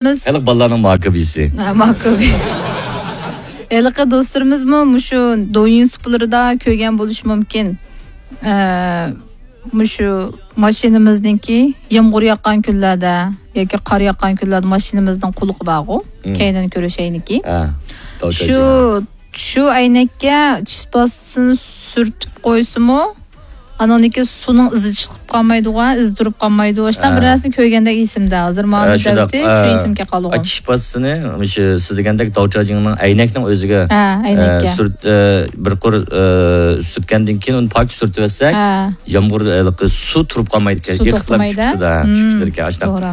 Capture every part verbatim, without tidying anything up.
بىز خەلق بالىلارنىڭ ماكىبىسى. ھە، ماكىبى. ھېلىقى دوستلىرىمىزمۇ مۇشۇ دويىن سۇپىلىرىدا كۆرگەن بولۇشى مۇمكىن. ئە، مۇشۇ ماشىنىمىزنىڭكى يامغۇر ياغقان كۈنلەردە ياكى قار ياغقان كۈنلەردە ماشىنىمىزنىڭ قۇلىقى بارغۇ، مم. كەينىدىن كۆرۈش ئەينىكى. ھە، شۇ، شۇ ئەينەككە چىش پاستىسىنى سۈرتۈپ قويسىمۇ، ئانىڭدىكى سۇنىڭ ئىزى چىقىپ قالمايدىغۇ، ئىزى تۇرۇپ قالمايدۇ. ئاشۇنداق بىر نەرسىنى كۆرگەندەك ئېسىمدە. ھازىر مانا، ھە، شۇنداق، دەۋتى، شۇ ئە، ئېسىمگە قالغان. چىش پاستىسىنى، مۇشۇ سىز دېگەندەك داۋچاجىڭنىڭ ئەينەكنىڭ ئۆزىگە، ھە، ئەينەككە. ئە، سۈرت-، ئە، بىر قۇر، ئە، سۈرتكەندىن كېيىن ئۇنى پاك سۈرتۈۋەتسەك، ھە. يامغۇر، ھېلىقى سۇ تۇرۇپ قالمايدىكەن، سۇ ئېقىپ توختىمايدۇ. چىقىپ كېتىدۇ، ھە، چىقىپ كېتىدىكەن. ئاشۇنداق. توغرا.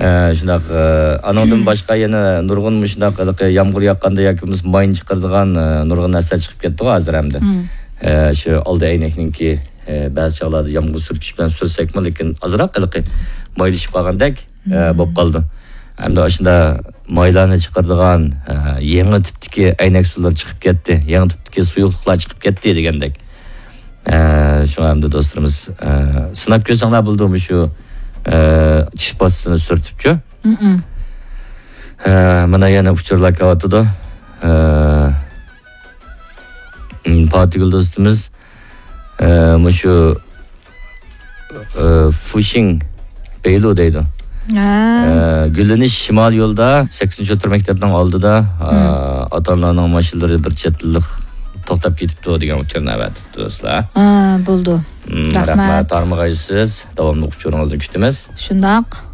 ئە، شۇنداق، ئە، ئانىڭدىن باشقا يەنە نۇرغۇن مۇشۇنداق ھېلىقى يامغۇر ياغقاندا ياكى بولمىسا ماينى چىقىرىدىغان، ئە، نۇرغۇن نەرسىلەر چىقىپ كەتتىغۇ ھازىر ئەمدى. مم. ئە، شۇ ئالدى ئەينەكنىڭكى، ئە، بەزى چاغلاردا يامغۇر سۈركۈش بىلەن سۈرسەكمۇ، لېكىن ئازراق ھېلىقى مايلىشىپ قالغاندەك، ئە، مم. بولۇپ قالىدۇ. ئەمدى ئاشۇنداق مايلارنى چىقىرىدىغان، ئە، يېڭى تىپتىكى ئەينەك سۇلىرى چىقىپ كەتتى، يېڭى تىپتىكى سۇيۇقلۇقلار چىقىپ كەتتى دېگەندەك. ئە، شۇڭا ئەمدى دوستلىرىمىز، ئە، سىناپ كۆرسەڭلار بولىدۇ مۇشۇ، ئە، چىش پاستىسىنى سۈرتۈپچۇ. مم. ئە، مانا يەنە ئۇچۇرلار كېلىۋاتىدۇ. ئە، م، پاتىگۈل دوستىمىز، ئە، مۇشۇ، ئە، فۇشىڭ بەيلۇ دەيدۇ. ھە. ئە، گۈللىنىش شىمال يولىدا، سەككىزىنچى ئوتتۇرا مەكتەپنىڭ ئالدىدا، ئە، مم. ئاتا-ئانىلارنىڭ ماشىنىلىرى بىر چەت ئېللىق توختاپ كېتىپتۇ دېگەن ئۇچۇرنى ئەۋەتىپتۇ دوستلار. ھە، بولىدۇ. مم، رەھمەت. رەھمەت. تارمىغايسىز. داۋاملىق ئۇچۇرىڭىزنى كۈتىمىز. شۇنداق.